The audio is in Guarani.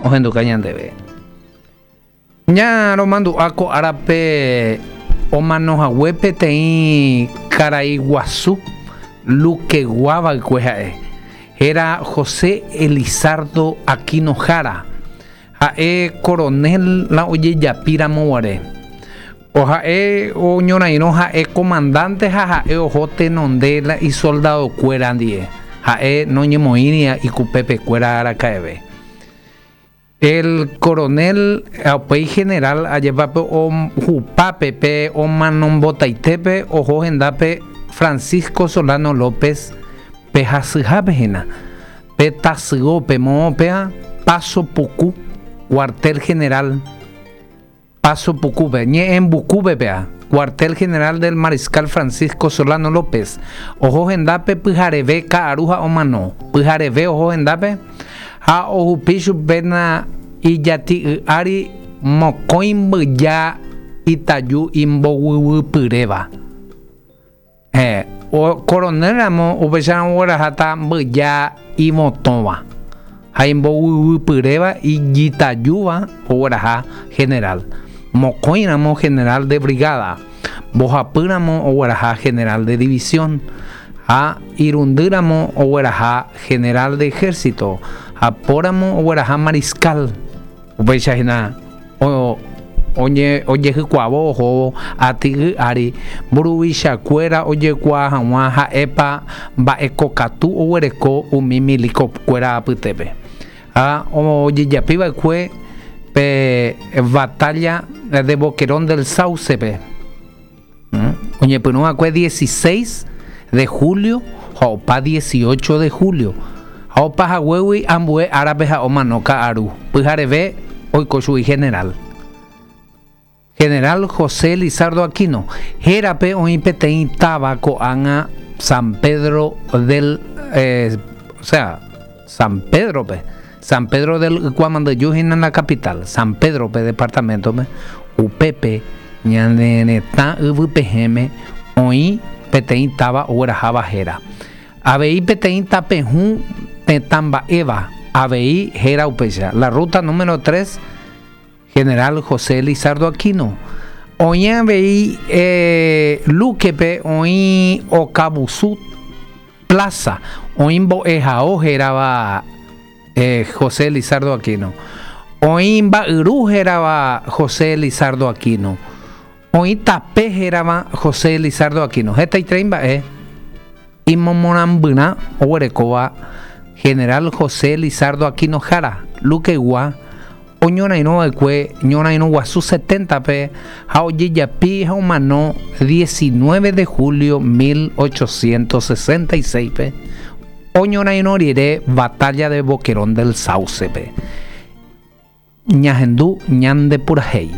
ohenduka ñandéve. Ña romandu'a ko árape omano hague peteĩ karai guasu Luquegua va'ekue ha'e. Héra José Elizardo Aquino Jara. Ha'e coronel la ojejapi ramo guare. O ha'e oñorairõ ha'e comandante ha ha'e oho tenonde la isoldado kuéra ndie. Ha'e noñemoĩri ikupépe kuéra araka'eve. El coronel ha upéi general ajépape ohupápe pe omanombotaitépe oho hendápe Francisco Solano López pe hasyhápe hína, pe tasyópe moõ péva Paso Puku, cuartel general Paso Pukúpe, Ñe'ẽmbukúpe péva, cuartel general del Mariscal Francisco Solano López, oho hendápe pyhareve ka'aru ha omano, pyhareve oho hendápe ha ohupi chupe na ijati'y ári mokõi mbyja itaju imboguyvypyréva. Heẽ, coronel ramo upéicharamo ogueraháta mbyja ivotõva ha imboguyvypyréva ijitajúva ogueraha general, mokõi ramo general de brigada, mbohapy ramo ogueraha general de división, ha irundy ramo ogueraha general de ejército, ha po ramo ogueraha mariscal. Upéicha hína ojehykuavo ohóvo aty'y ári mburuvichakuéra ojekuaa hag̃ua ha'épa mba'ekokatu oguereko umi milikokuéra apytépe. Ha ojejapi va'ekue pe Batalla de Boquerón del Sauce-pe, oñepyrũ va'ekue 16 de julio ha opa 18 de julio, ha opa haguégui ambue árape ha omano ka'aru pyhareve oiko chugui general. General José Elizardo Aquino, hérape oĩ peteĩ táva ko'ág̃a San Pedro del, o sea, San Pedro-pe, San Pedro del Ykuamandyju hína la capital, San Pedro-pe departamento-pe, upépe ñane retã yvypehẽme oĩ peteĩ táva ogueraháva héra. Avei peteĩ tapehũ tetã mba'éva avei héra upéicha, la ruta número 3, General José Elizardo Aquino. Oĩ avei Luque-pe oĩ Okavusu Plaza, oĩ mbo'ehao hérava José Elizardo Aquino. Oĩ mba'yru hérava José Elizardo Aquino. Oĩ tape hérava José Elizardo Aquino. Hetaiterei mba'e imomorãmbyrã oguerekóva General José Elizardo Aquino Jara, Luqueygua, oñorairõ va'ekue Ñorairõ Guasu 70-pe ha ojejapi ha omano 19 de julio 1866-pe, oñorairõ rire Batalla de Boquerón del Sauce-pe. Ñahendu ñande purahéi.